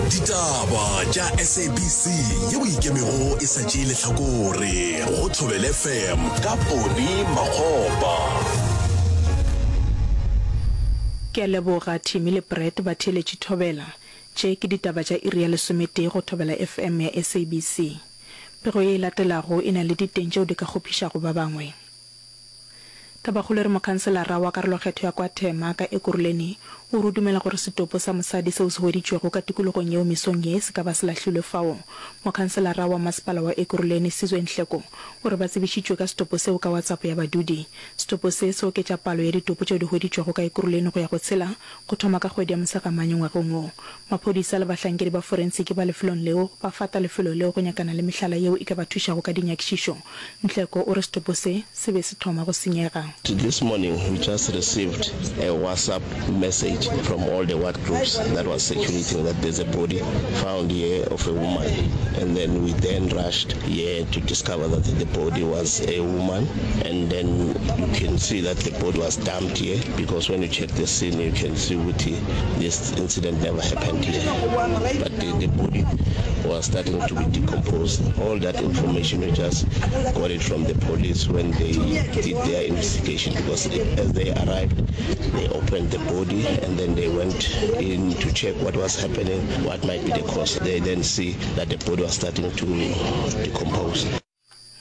Ditaba tša SABC yeo e ikemego e sa tšee lehlakore go Thobela FM ka Poni Makgopa. Ke a leboga Timmy le Brett ba theeletše Thobela. Tše ke ditaba tša iri ya lesometee go Thobela FM ya SABC. Pego ye e latelago e na le diteng tšeo di ka kgopišago ba bangwe. Tabakgolo e re mokhanselara wa karolokgetho ya kwa Thema ka Ekurhuleni o re o dumela gore setopo sa mosadi seo se hweditšwego ka tikologong yeo mesong ye se ka ba se lahlilwe fao. Mokhanselara wa masepala wa Ekurhuleni Sizwe Nhleko o re ba tsebišitšwe ka setopo seo ka WhatsApp ya badudi. Setopo se se oketša palo ya ditopo tšeo di hweditšwego ka Ekurhuleni go ya go tshela go thoma ka kgwedi ya Mosegamanye ngwageng wo. Maphodisa le bahlankedi ba forensiki ba lefelong leo ba fata lefelo leo go nyakana le mehlala yeo e ka ba thušago ka dinyakišišo. Nhleko o re setopo se se be se thoma go senyega. This morning we just received a WhatsApp message from all the ward groups that was circulating that there's a body found here of a woman and then we then rushed here to discover that the body was a woman and then you can see that the body was dumped here because when you check the scene you can see ukuthi this incident never happened here but the, the body was starting to be decomposed all that information we just got it from the police when they did their investigation because as they arrived they opened the body and then they went in to check what was happening what might be the cause they then see that the body was starting to decompose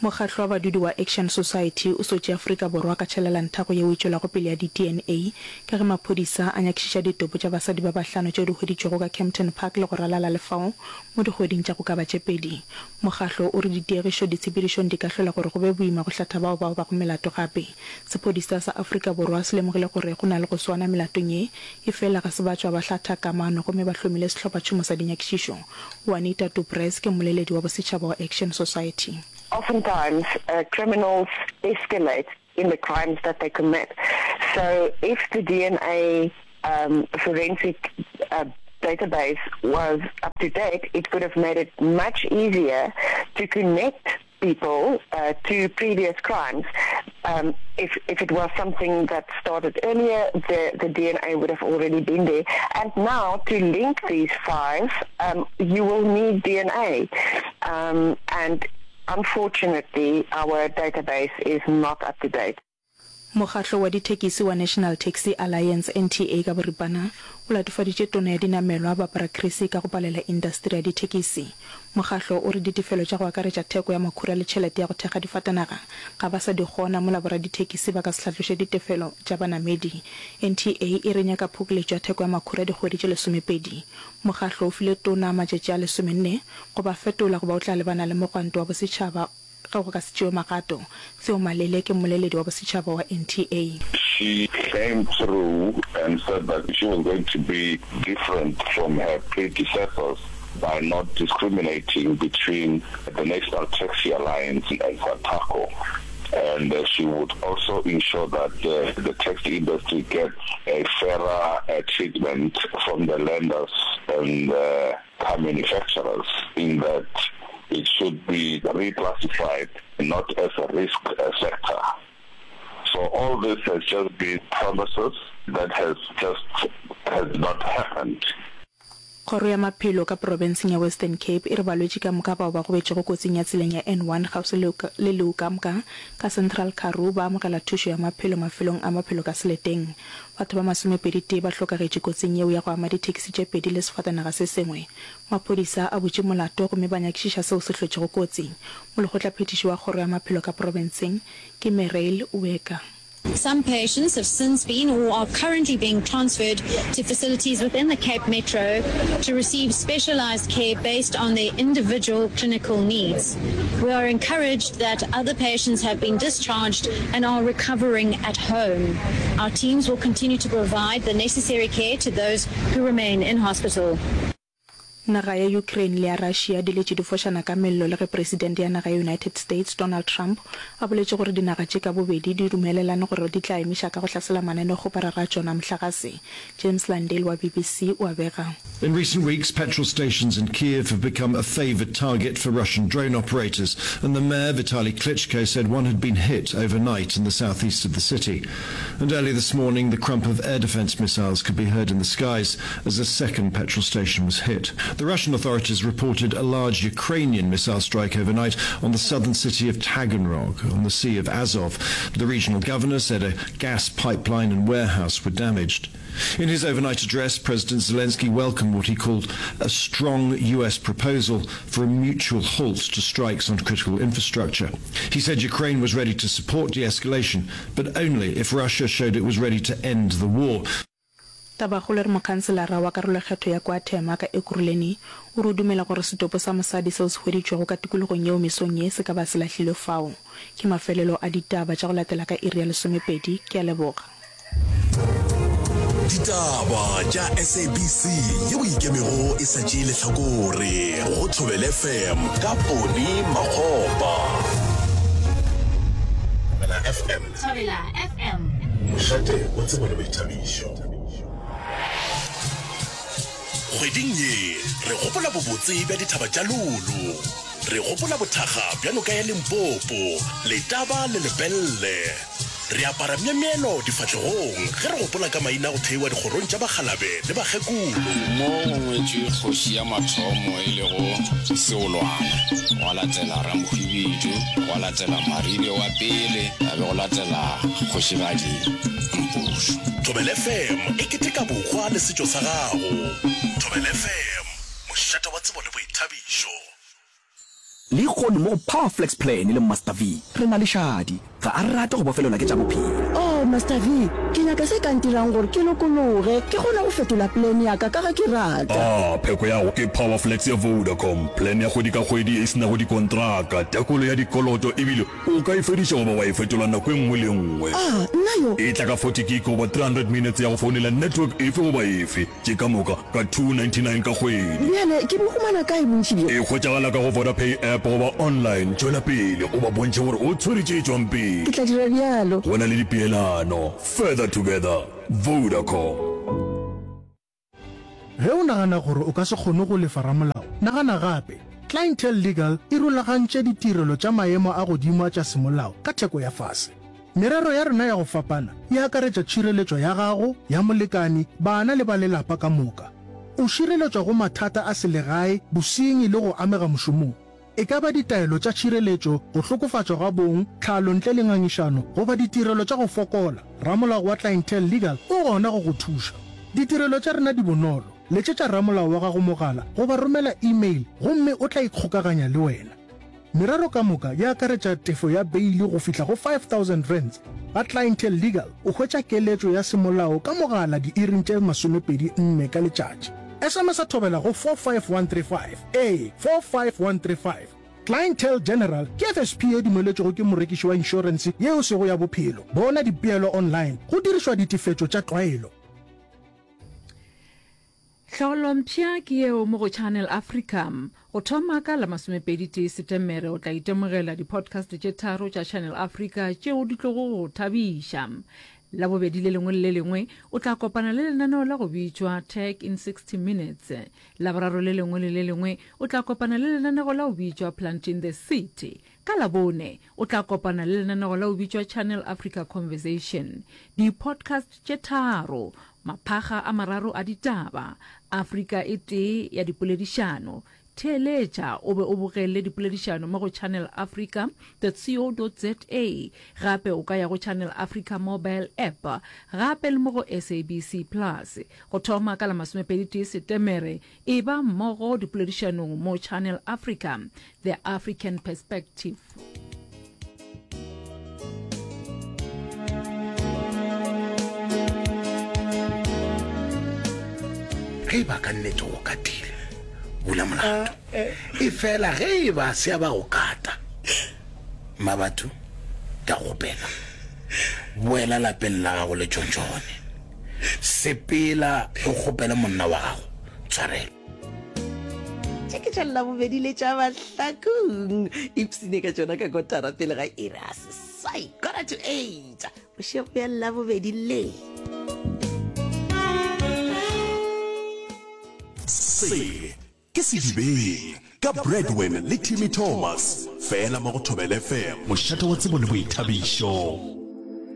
Mokgatlo wa badudi wa Action Society o sotše Afrika Borwa ka tšhelelanthako yeo e tšwelago pele ya di-DNA ka ge maphodisa a nyakišiša ditopo tša basadi ba bahlano tšeo di hweditšwego ka Kempton Park le go ralala le fao mo dikgweding tša go ka ba tše pedi. Mokgatlo o re ditiegišo ditshepedišong di ka hlola gore go be boima go hlatha bao ba obago melato gape. Sephodisa sa Afrika Borwa se lemogile gore go na le go swana melatong ye, efela ga se ba tšwa ba hlatha kamano gomme ba hlomile sehlophatšhomo sa dinyakišišo. Juanita du Preez ke mmoleledi wa bosetšhaba wa Action Society. Oftentimes criminals escalate in the crimes that they commit. So if the DNA um, forensic uh, database was up to date, it could have made it much easier to connect people uh, to previous crimes. Um, if, if it was something that started earlier, the, the DNA would have already been there. And now, to link these five, um, you will need DNA. Um, and unfortunately, our database is not up to date. Mokgatlo wa dithekisi wa National Taxi Alliance, NTA, ka boripana, o latofaditše Tona ya Dinamelwa, Barbara Creecy ka go palela indasteri ya dithekisi. Mokgatlo o re ditefelo tša go akaretša theko ya makhura le tšhelete ya go thekga difatanaga ga ba sa di kgona mola boradithekisi ba ka se hlatloše ditefelo tša banamedi. NTA e re nyaka phokoletšo ya theko ya makhura dikgwedi tše lesomepedi. Mokgatlo o file Tona matšatši a lesomenne go ba fetola goba o tla lebana le mogwanto wa bosetšhaba Ge go ka se tšewe magato, Theo Malele ke mmoleledi wa bosetšhaba wa NTA. She came through and said that she was going to be different from her predecessors by not discriminating between the National Taxi Alliance and Santaco and she would also ensure that the taxi industry gets a fairer treatment from the lenders and car manufacturers in that it should be reclassified not as a risk sector. So all this has just been promises that has just has not happened. Kgoro ya Maphelo ka profenseng ya Western Cape e re balwetši ka moka bao ba gobetšego kotsing ya tseleng ya N1 kgauswi le le Leeukamka ka Central Karoo ba amogela thušo ya maphelo mafelong a maphelo ka seleteng. Batho ba masomepedi-tee ba hlokagetše kotsing yeo ya go ama dithekisi tše pedi le sefatanaga se sengwe. Maphodisa a butše molato gomme ba nyakišiša seo se hlotšego kotsi. Molekgotlaphethiši wa kgoro ya maphelo ka profenseng ke Mereil Ueka. Some patients have since been or are currently being transferred to facilities within the Cape Metro to receive specialized care based on their individual clinical needs. We are encouraged that other patients have been discharged and are recovering at home. Our teams will continue to provide the necessary care to those who remain in hospital. Naga ya Ukraine le ya Russia di letše di fošana ka mello le ge Presidente ya naga ya United States Donald Trump a boletše gore dinaga tše ka bobedi di dumelelane gore di tla emiša ka go hlasela mananeo-kgoparara a tšona a mohlagase. James Landale wa BBC o a bega. In recent weeks, petrol stations in Kyiv have become a favoured target for Russian drone operators, and the mayor, Vitali Klitschko, said one had been hit overnight in the southeast of the city. And early this morning, the crump of air defence missiles could be heard in the skies as a second petrol station was hit. The Russian authorities reported a large Ukrainian missile strike overnight on the southern city of Taganrog on the Sea of Azov. The regional governor said a gas pipeline and warehouse were damaged. In his overnight address, President Zelensky welcomed what he called a strong US proposal for a mutual halt to strikes on critical infrastructure. He said Ukraine was ready to support de-escalation, but only if Russia showed it was ready to end the war. Tabakgolo e re mokhanselara wa karolokgetho ya kwa Thema ka Ekurhuleni o re o dumela gore setopo sa mosadi seo se hweditšwego ka tikologong yeo mesong ye se ka ba se lahlilwe fao. Ke mafelelo a ditaba tša go latela ka iri ya lesomepedi. Ke a leboga. Ditaba tša SABC yeo e ikemego e sa tšee lehlakore go Thobela FM ka Poni Makgopa. Thobela FM. Thobela FM. Mošate wa tsebo le boithabišo. Kgweding ye re gopola bobotse bja dithaba tša Lulu. Re gopola bothakga bja noka ya Limpopo, Letaba le Lepelle. Re apara myemyelo difahlegong ge re gopola ka maina a go theiwa dikgorong tša bakgalabe le bakgekolo. Mo go ngwetšwe kgoši ya mathomo e lego Seolwana, gwa latela Ramohwibidu, gwa latela Maribe wa pele, ga be go latela Kgošigadi Mpušo. Thobela FM e keteka bohwa le setšo sa gago. Thobela FM, mošate wa tsebo le boithabišo. Lehono mo go Power Flex Plan le Master V, re na le Shadi. Ga a rate go bofelelwa ke tša bophelo. Oh, Master V, ke nyaka se ka ntirang gore ke lokologe, ke kgone go fetola plan ya ka ka ge ke rata. Ah, pheko ya go ke Power Flex ya Vodacom, plan ya kgwedi ka kgwedi e se nago dikontraka, tekolo ya dikoloto ebile o ka e fediša goba wa e fetola nako e nngwe le e nngwe. Ah, nna yo! E tla ka 40 gig goba 300 minutes ya go founela network efe goba efe. Tše ka moka ka 299 ka kgwedi. Bjale ke bo humana kae bontši bjo? E hwetšagala ka go Vodapay app goba online. Tšwela pele o ba bontšhe gore o tshwere tše tšwang pele. Ke tla dira bjalo. Go na le dipeelano. Further together. Vodacom. Ge o nagana gore o ka se kgone go lefa ramolao, nagana gape. Clientele Legal e rulagantše ditirelo tša maemo a godimo a tša semolao ka theko ya fase. Merero ya rena ya go fapana e akaretša tšhireletšo ya gago, ya molekani, bana le ba lelapa ka moka. O šireletšwa go mathata a selegae, bosenyi le go amega mošomong. E ka ba ditaelo tša tšhireletšo, go hlokofatšwa ga bong, tlhalo ntle le ngangišano goba ditirelo tša go fokola, ramolao wa Clientele Legal o gona go go thuša. Ditirelo tša rena di bonolo. Letšetša ramolao wa gago mogala goba romela e-mail gomme o tla ikgokaganya le wena. Merero ka moka e akaretša tefo ya beili go fihla go R5000. Ga Clientele Legal o hwetša keletšo ya semolao ka mogala diiring tše 24 ka letšatši. SMS-a thobela go 45135, ee, 45135. Clientele General ke FSP ye dumeletšwego ke morekiši wa inšorense ye e sego ya bophelo. Bona dipeelo online go dirišwa ditefetšo tša tlwaelo. Tlhaolompsha ke yeo mo go Channel Africa. Go thoma ka la masomepeditee Setemere o tla itemogela di-podcast tše tharo tša Channel Africa tšeo di tlogo go thabiša. Labobedi le lengwe le le lengwe o tla kopana le lenaneo la go bitšwa Tech in 60 Minutes. Laboraro le lengwe le le lengwe o tla kopana le lenanego la go bitšwa Planting the Seed. Ka Labone o tla kopana le lenanego la go bitšwa Channel Africa Conversation. Di-podcast tše tharo, maphakga a mararo a ditaba, Afrika e tee ya dipoledišano. Theeletša o be o bogele dipoledišano mo go channelafrica dot co dot za. Gape o ka ya go Channel Africa mobile app gape le mo go SABC Plus. Go thoma ka la masomepeditee Setemere, eba mmogo dipoledišanong mo Channel Africa, The African Perspective. Ge e ba ka nnete o katile, bula molato. E fela ge e ba se a ba go kata, Mmabatho, ke a go kgopela, boela lapeng la gago le tšontšone. Sepela o kgopele monna wa gago tshwarelo. Tše ke tša Labobedi le tša Mahlakong. Ipsine ka tšona ka kotara pele ga iri ya seswai, quarter to eight, bošego bja Labobedi le. Se ke Sedibeng ka Bradwin le Timmy Thomas, fela mo go Thobela FM, mošate wa tsebo le boithabišo.